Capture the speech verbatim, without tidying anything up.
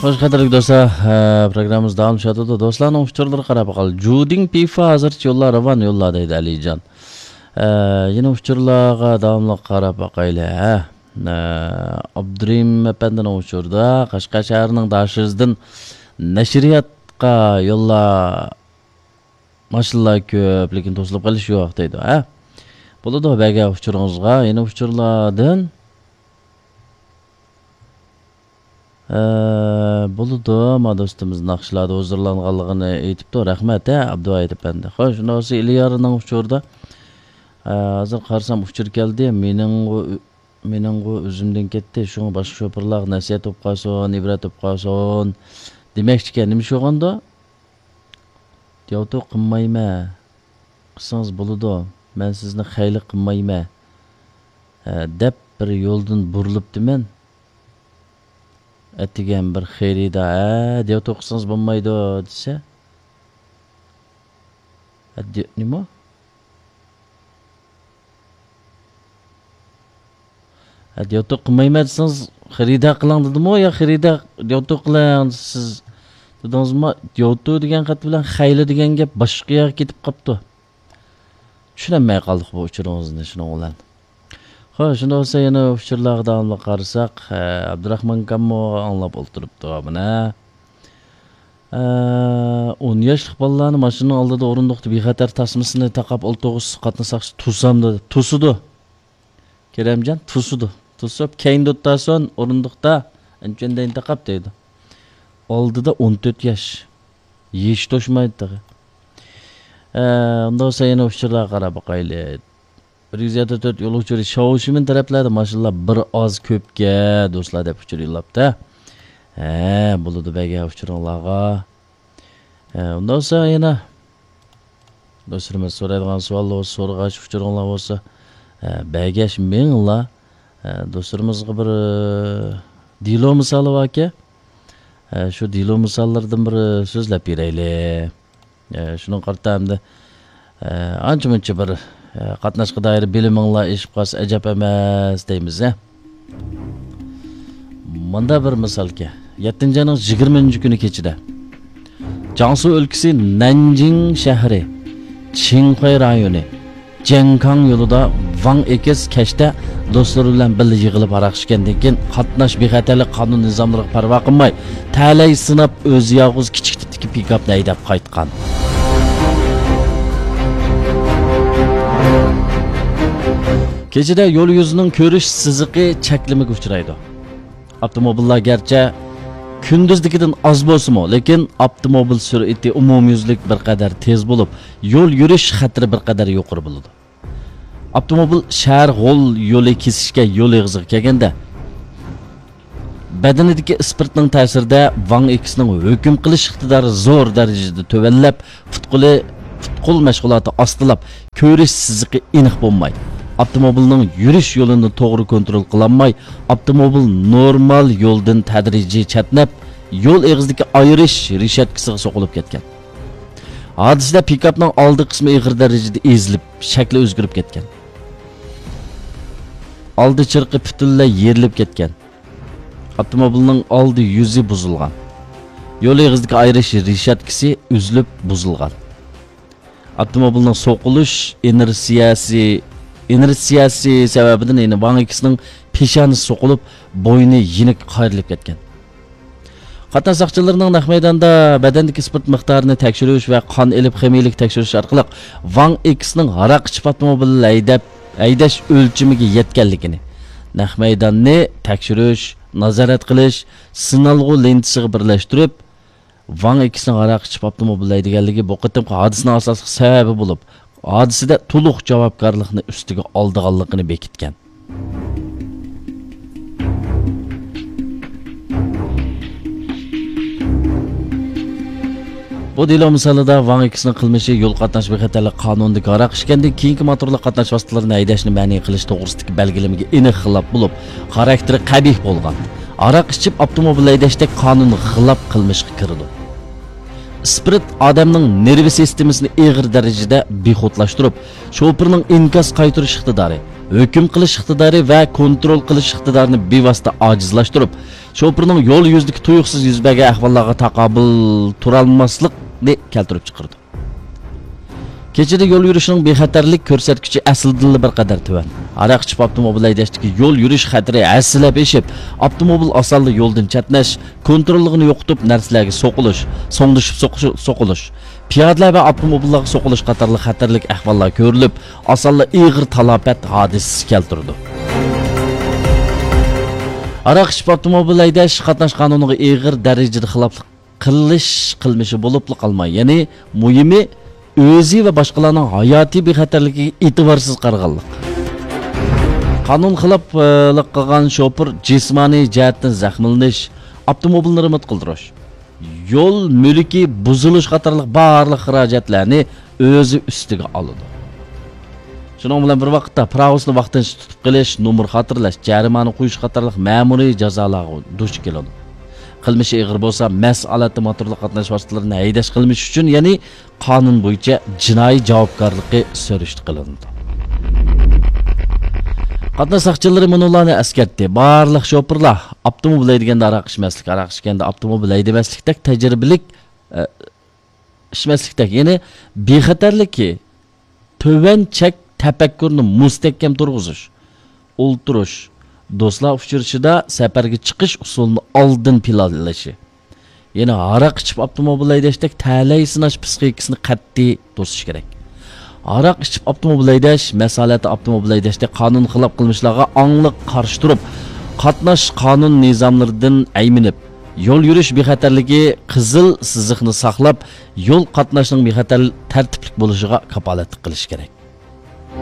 خوش، قەدىرلىك دوستلار، ئە، پروگراممىمىز داۋاملىشىۋاتىدۇ. دوستلارنىڭ ئۇچۇرلىرىغا قاراپ باقايلى. جۇدىڭ پىفا ھازىرچە يوللار راۋان يوللار دەيدۇ ئەلىجان. ئە، يەنە ئۇچۇرلارغا داۋاملىق قاراپ باقايلى. ھە. ئە، ئابدۇرېھىم ئەپەندىنىڭ ئۇچۇرىدا قەشقەر شەھىرىنىڭ داشىزىدىن نەشرىياتقا يوللار ماشىنىلار كۆپ، لېكىن توسۇلۇپ قېلىش يوق دەيدۇ. ھە. بولىدۇ، بەگە ئۇچۇرىڭىزغا يەنە ئۇچۇرلاردىن. ئە، بولىدۇ، ما دوستىمىز ناخشىلاردا ھۇزۇرلانغانلىقىنى ئېيتىپتۇ. رەھمەت، ھە، ئابدۇۋاھىت ئەپەندى. خوش، شۇنداق بولسا ئىليارنىڭ ئۇچۇرىدا، ئە، ھازىر قارىسام ئۇچۇر كەلدى. مېنىڭغۇ، مېنىڭغۇ ئۆزۈمدىن كەتتى. شۇڭا باشقا شوپۇرلارغا نەسىھەت بولۇپ قالسۇن، ئىبرەت بولۇپ قالسۇن دېمەكچىكەن. نېمە ئىش بولغاندۇ؟ دياۋتۇ قىلمايمەن. قىلسىڭىز بولىدۇ. مەن سىزنى خەيلى قىلمايمەن، ھە، دەپ بىر يولدىن بۇرۇلۇپتىمەن. ئەتىگەن بىر خېرىدار، ھە، دياۋتۇ قىلسىڭىز بولمايدۇ دېسە، ھە، دي-، نېمە؟ ھە، دياۋتۇ قىلمايمەن دېسىڭىز، خېرىدار قىلىڭ دېدىمۇ يا خېرىدار دياۋتۇ قىلىڭ سىز دېدىڭىزمۇ؟ دياۋتۇ دېگەن خەت بىلەن خەيلى دېگەن گەپ باشقا يەرگە كېتىپ قاپتۇ. چۈشىنەلمەي قالدۇق بۇ ئۇچۇرىڭىزنى شۇنىڭ بىلەن. خوش، شۇنداق بولسا يەنە ئۇچۇرلارغا داۋاملىق قارىساق، ھە، ئابدۇراخمان ئاكاممۇ ئاڭلاپ ئولتۇرۇپتۇ مانا. ئە، ئون ياشلىق بالىلارنى ماشىنىنىڭ ئالدىدا ئورۇندۇقتا بىخەتەر تاسمىسىنى تاقاپ ئولتۇرغۇزسا قاتناش ساقچىسى توسامدۇ؟ توسىدۇ. كېرەمجان توسىدۇ. توسۇپ، كەينىدە ئولتۇرسۇن، ئورۇندۇقتا ئەنچۈندەين تاقاپ دەيدۇ. ئالدىدا ئون تۆت ياش. يېشى توشمايدۇ تېخى. ئە، ئۇنداق بولسا يەنە ئۇچۇرلارغا قاراپ باقايلى. بىر يۈز يەتتە تۆت يول ئۇچۇرى شاۋشىمىن تەرەپلەردە ماشىنىلار بىر ئاز كۆپكە دوستلار دەپ ئۇچۇر يوللاپتۇ. ھە، بولىدۇ بەگە ئۇچۇرۇڭلارغا. ھە، ئۇنداق بولسا يەنە دوستلىرىمىز سورايدىغان سوئاللار بولسا، سورىغاچ ئۇچۇرۇڭلار بولسا، ھە، بەگەش مېڭىڭلار. ھە، دوستلىرىمىزغا بىر، ئە، دېلو مىسالى باركەن. ھە، شۇ دېلو مىساللىرىدىن بىر سۆزلەپ بېرەيلى. ئە، شۇنىڭغا قارىتا ئەمدى، ئە، ئانچە-مۇنچە بىر، ئە، قاتناشقا دائىر بىلىمىڭلار ئېشىپ قالسا ئەجەب ئەمەس دەيمىز، ئە. مۇندا بىر مىسالكەن. يەتتىنچى ئاينىڭ يىگىرمىنچى كۈنى كېچىدە جياڭسۇ ئۆلكىسى نەنجىڭ شەھىرى، چىڭخۇەي رايونى، جيەنكاڭ يولىدا ۋاڭ ئېكىس كەچتە دوستلىرى بىلەن بىللە يىغىلىپ ھاراق ئىچكەندىن كېيىن، قاتناش بىخەتەرلىك قانۇن نىزاملىرىغا پەرۋا قىلماي، تەلەي سىناپ، ئۆزى يالغۇز كىچىك تىپتىكى پىكاپنى ھەيدەپ قايتقان. كېچىدە يول يۈزىنىڭ كۆرۈش سىزىقى چەكلىمىگە ئۇچرايدۇ. ئاپتوموبىللار گەرچە كۈندۈزدىكىدىن ئاز بولسىمۇ، لېكىن ئاپتوموبىل سۈرئىتى ئومۇميۈزلۈك بىر قەدەر تېز بولۇپ، يول يۈرۈش خەتىرى بىر قەدەر يۇقىرى بولىدۇ. ئاپتوموبىل شەھەر غول يولى كېسىشكەن يول ئېغىزىغا كەلگەندە، بەدىنىدىكى ئىسپىرتنىڭ تەسىرىدە ۋاڭ ئېكىسنىڭ ھۆكۈم قىلىش ئىقتىدارى زور دەرىجىدە تۆۋەنلەپ، پۇت-قولى، پۇت-قول مەشغۇلاتى ئاستىلاپ، كۆرۈش سىزىقى ئېنىق بولماي، ئاپتوموبىلنىڭ يۈرۈش يولىنى توغرا كونترول قىلالماي، ئاپتوموبىل نورمال يولدىن تەدرىجىي چەتنەپ، يول ئېغىزىدىكى ئايرىش رېشاتكىسىغا سوقۇلۇپ كەتكەن. ھادىسىدە پىكاپنىڭ ئالدى قىسمى ئېغىر دەرىجىدە ئېزىلىپ، شەكلى ئۆزگىرىپ كەتكەن. ئالدى چىرىقى پۈتۈنلەي يېرىلىپ كەتكەن. ئاپتوموبىلنىڭ ئالدى يۈزى بۇزۇلغان. يول ئېغىزىدىكى ئايرىش رېشاتكىسى ئۈزۈلۈپ بۇزۇلغان. ئاپتوموبىلنىڭ سوقۇلۇش ئىنېرتسىيەسى، ئىنېرتسىيەسى سەۋەبىدىن، يەنى ۋاڭ ئېكىسنىڭ پېشانىسى سوقۇلۇپ، بوينى يېنىك قايرىلىپ كەتكەن. قاتناش ساقچىلىرىنىڭ نەق مەيداندا بەدەندىكى ئىسپىرت مىقدارىنى تەكشۈرۈش ۋە قان ئېلىپ خىمىيەلىك تەكشۈرۈش ئارقىلىق ۋاڭ ئېكىسنىڭ ھاراق ئىچىپ ئاپتوموبىل ھەيدەپ، ھەيدەش ئۆلچىمىگە يەتكەنلىكىنى، نەق مەيداننى تەكشۈرۈش، نازارەت قىلىش، سىنالغۇ لېنتىسىغا بىرلەشتۈرۈپ، ۋاڭ ئېكىسنىڭ ھاراق ئىچىپ ئاپتوموبىل ھەيدىگەنلىكى بۇ قېتىمقى ھادىسىنىڭ ئاساسلىق سەۋەبى بولۇپ، ھادىسىدە تولۇق جاۋابكارلىقنى ئۈستىگە ئالىدىغانلىقىنى بېكىتكەن. بۇ دېلو مىسالىدا ۋاڭ ئېكىسنىڭ قىلمىشى يول قاتناش بىخەتەرلىك قانۇنىدىكى ھاراق ئىچكەندىن كېيىنكى موتورلۇق قاتناش ۋاسىتىلىرىنى ھەيدەشنى مەنئى قىلىش توغرىسىدىكى بەلگىلىمىگە ئېنىق خىلاپ بولۇپ، خاراكتېرى قەبىھ بولغان، ھاراق ئىچىپ ئاپتوموبىل ھەيدەشتەك قانۇنغا خىلاپ قىلمىشقا كىرىدۇ. ئىسپىرت ئادەمنىڭ نېرۋا سىستېمىسىنى ئېغىر دەرىجىدە بىخۇدلاشتۇرۇپ، شوپۇرنىڭ ئىنكاس قايتۇرۇش ئىقتىدارى، ھۆكۈم قىلىش ئىقتىدارى ۋە كونترول قىلىش ئىقتىدارىنى بىۋاسىتە ئاجىزلاشتۇرۇپ، شوپۇرنىڭ يول يۈزىدىكى تۇيۇقسىز يۈز بەرگەن ئەھۋاللارغا تاقابىل تۇرالماسلىقنى كەلتۈرۈپ چىقىرىدۇ. كېچىدە يول يۈرۈشنىڭ بىخەتەرلىك كۆرسەتكۈچى ئەسلىدىنلا بىر قەدەر تۆۋەن. ھاراق ئىچىپ ئاپتوموبىل ھەيدەشتىكى يول يۈرۈش خەتىرى ھەسسىلەپ ئېشىپ، ئاپتوموبىل ئاسانلا يولدىن چەتنەش، كونتروللۇقىنى يوقىتىپ، نەرسىلەرگە سوقۇلۇش، سوڭدىشىپ سوقۇش-، سوقۇلۇش، پىيادىلەر ۋە ئاپتوموبىللارغا سوقۇلۇش قاتارلىق خەتەرلىك ئەھۋاللار كۆرۈلۈپ، ئاسانلا ئېغىر تالاپەت ھادىسىسى كەلتۈرىدۇ. ھاراق ئىچىپ ئاپتوموبىل ھەيدەش قاتناش قانۇنىغا ئېغىر دەرىجىدە خىلاپلىق قىلىش قىلمىشى بولۇپلا قالماي، يەنى مۇھىمى ئۆزى ۋە باشقىلارنىڭ ھاياتىي بىخەتەرلىكىگە ئېتىبارسىز قارىغانلىق. قانۇن خىلاپلىق قىلغان شوپۇر جىسمانىي جەھەتتىن زەخىملىنىش، ئاپتوموبىلنى رېمونت قىلدۇرۇش، يول مۈلكى بۇزۇلۇش قاتارلىق بارلىق خىراجەتلەرنى ئۆزى ئۈستىگە ئالىدۇ. شۇنىڭ بىلەن بىر ۋاقىتتا، پىراۋىسىنى ۋاقتىنچە تۇتۇپ قېلىش، نومۇر خاتىرىلەش، جەرىمانە قويۇش قاتارلىق مەمۇرىي جازالارغا دۇچ كېلىدۇ. قىلمىشى ئېغىر بولسا، مەس ھالەتتە موتورلۇق قاتناش ۋاسىتىلىرىنى ھەيدەش قىلمىشى ئۈچۈن، يەنى قانۇن بويىچە جىنايى جاۋابكارلىقى سۈرۈشتە قىلىنىدۇ. قاتناش ساقچىلىرى مۇنۇلارنى ئەسكەرتتى: بارلىق شوپۇرلار ئاپتوموبىل ھەيدىگەندە ھاراق ئىچمەسلىك، ھاراق ئىچكەندە ئاپتوموبىل ھەيدىمەسلىكتەك تەجرىبىلىك، ئە، ئىچمەسلىكتەك، يەنى بىخەتەرلىكى تۆۋەن چەك تەپەككۇرنى مۇستەھكەم تۇرغۇزۇش، ئولتۇرۇش، دوستلار ئۇچرىشىشىدا سەپەرگە چىقىش ئۇسۇلىنى ئالدىن پىلانلىشى، يەنى ھاراق ئىچىپ ئاپتوموبىل ھەيدەشتەك تەلەي سىناش پىسخىكىسىنى قەتئىي توسۇش كېرەك. ھاراق ئىچىپ ئاپتوموبىل ھەيدەش، مەس ھالەتتە ئاپتوموبىل ھەيدەشتەك قانۇن خىلاپ قىلمىشلارغا ئاڭلىق قارشى تۇرۇپ، قاتناش قانۇن نىزاملىرىدىن ئەيمىنىپ، يول يۈرۈش بىخەتەرلىكى قىزىل سىزىقنى ساقلاپ، يول قاتناشنىڭ بىخەتەر تەرتىپلىك بولۇشىغا كاپالەتلىك قىلىش كېرەك.